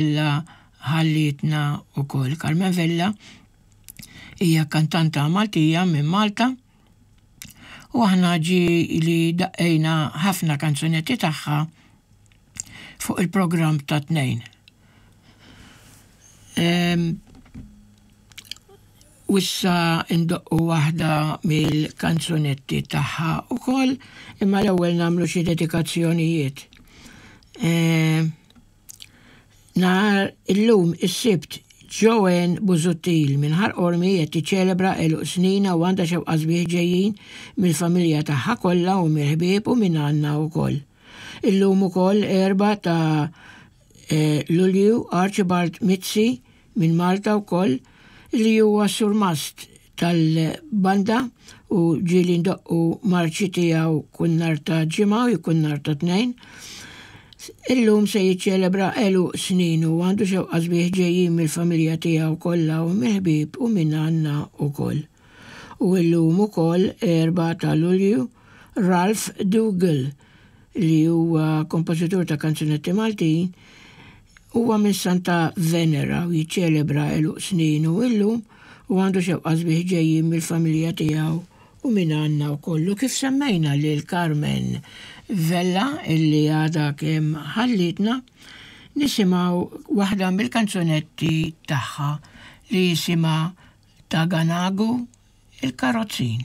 Vella ħallietna wkoll. Carmen Vella hija kantanta Maltija minn Malta u aħna ġie li daqqejna ħafna kanzunetti tagħha fuq il-programm ta' tnejn. U issa ndoqqu waħda mill-kanzunetti tagħha wkoll, imma l-ewwel nagħmlu xi dedikazzjonijiet. Nhar illum is-Sibt Joanne Busuttil minn Ħal Qormi qed tiċċelebra għeluq sninha u għandha xewqa sbieħ ġejjin mill-familja tagħha kollha u mill-ħbieb u minn għandna wkoll. Illum ukoll 4 ta' Lulju Archibald Mizzi minn Malta wkoll li huwa surmast tal-banda u ġieli ndoqqu marċi tiegħu kull nhar ta' Ġimgħa u kull nhar ta' Tnejn. Illum se jiċċelebra għeluq sninu u għandu xewqa sbieħ ġejjin mill-familja tiegħu kollha u mill-ħbieb u minn għandna wkoll. U illum ukoll 4 ta' Lulju Ralph Dougal li huwa kompożitur ta' kanzunetti Maltin, huwa minn Santa Venera u jiċċelebra għeluq sninu illum u għandu xewqa sbieħ ġejjin mill-familja tiegħu u minn għandna wkoll. U kif semmejna lil Carmen Vella illi għadha kemm ħallietna, nisimgħu waħda mill-kanzunetti tagħha li jisimha Taganagu il-Karozzin.